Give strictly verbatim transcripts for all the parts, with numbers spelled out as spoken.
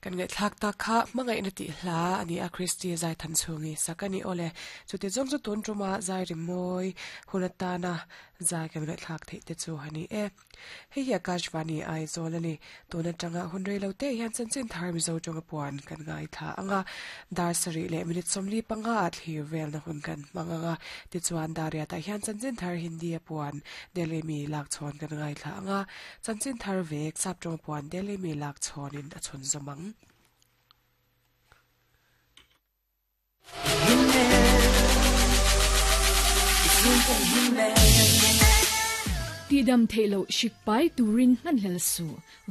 Kan ngai thlak ta kha mangai na ti hla ani a Christy zai than chungi sakani ole chuti jong chu tun tuma zai ri moi hunatana zai kan ngai thlak thei te chu hani e hei hi Akashvani ai zolani tuna tanga hunrei lo te hian chanchin thar mi zo tonga puan kan ngai tha anga dar sari le minute somli panga a thlir vel na hun kan manganga ti chuan daria ta hian chanchin thar Hindi a puan Delhi mi lak chon kan ngai tha anga chanchin thar vek sap tong puan Delhi mi lak chon in a chun zomang. Ti dam theilo shikpai turin ngan hel su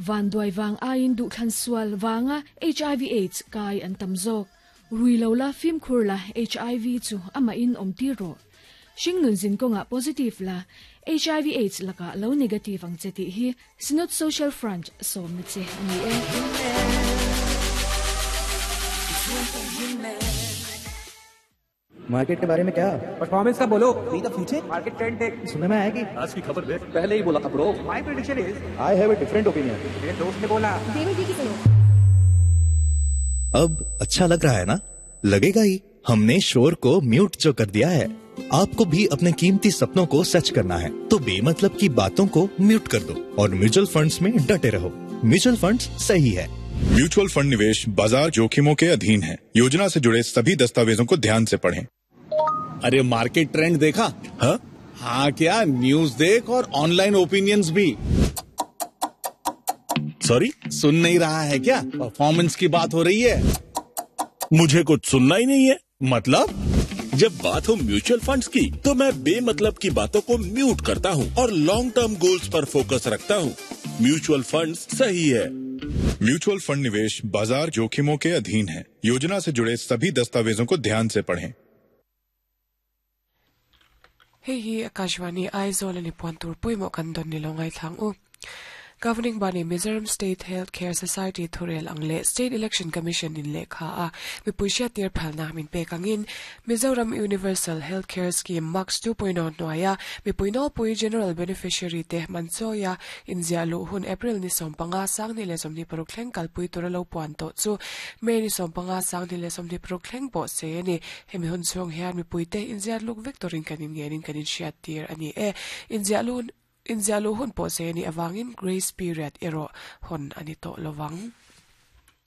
van duai wang ain du thlan sual wanga H I V AIDS kai an tamzok rui lo la phim khur la H I V chu ama in om ti ro shingnun zin konga positive la H I V AIDS laka lo negative ang cheti hi Synod Social Front som na che ani e. Market के बारे में क्या परफॉर्मेंस का बोलो the future market trend देख सुनने में आया कि आज की खबर देख पहले ही बोला था bro. My prediction is I have a different opinion. मेरे दोस्त ने बोला अब अच्छा लग रहा है ना? लगेगा ही, हमने शोर को म्यूट जो कर दिया है। आपको भी अपने कीमती सपनों को सच करना है तो बेमतलब की बातों को म्यूट कर दो और म्यूचुअल फंड्स में डटे रहो। म्यूचुअल फंड्स सही है। म्यूचुअल फंड निवेश बाजार जोखिमों के अधीन है। योजना से जुड़े सभी दस्तावेजों को ध्यान से पढ़ें। अरे मार्केट ट्रेंड देखा? हाँ हाँ क्या न्यूज देख और ऑनलाइन ओपिनियंस भी। सॉरी सुन नहीं रहा है क्या? परफॉर्मेंस की बात हो रही है। मुझे कुछ सुनना ही नहीं है। मतलब जब बात हो म्यूचुअल फंड्स की तो मैं बेमतलब की बातों को म्यूट करता हूँ और long term goals पर फोकस रखता हूँ। म्यूचुअल फंड्स सही है। म्यूचुअल फंड निवेश बाजार जोखिमों के अधीन है। योजना से जुड़े सभी दस्तावेजों को ध्यान से पढ़ें। Hei hi Akashvani Aizawl ani puan tur puimo kan don ni longai thlang u. Governing body Mizoram State Health Care Society thurel angle State Election Commission in lekha a mipuisia tir phalna min pekangin Mizoram Universal Health Care Scheme Max two point oh noaya mipuino pui general beneficiary te manchoya inzia lu hun April ni sompanga sangni le somni paruk thleng kalpui turalo puan to chu May ni sompanga sangni le somni paruk thleng po se ni hemi hun chung hian mipui te inzia luk victorin kanin ngenin kanin hriat tir ani e inzia lu inzia lu hun po se ni awangin grace period ero hon ani to lowang.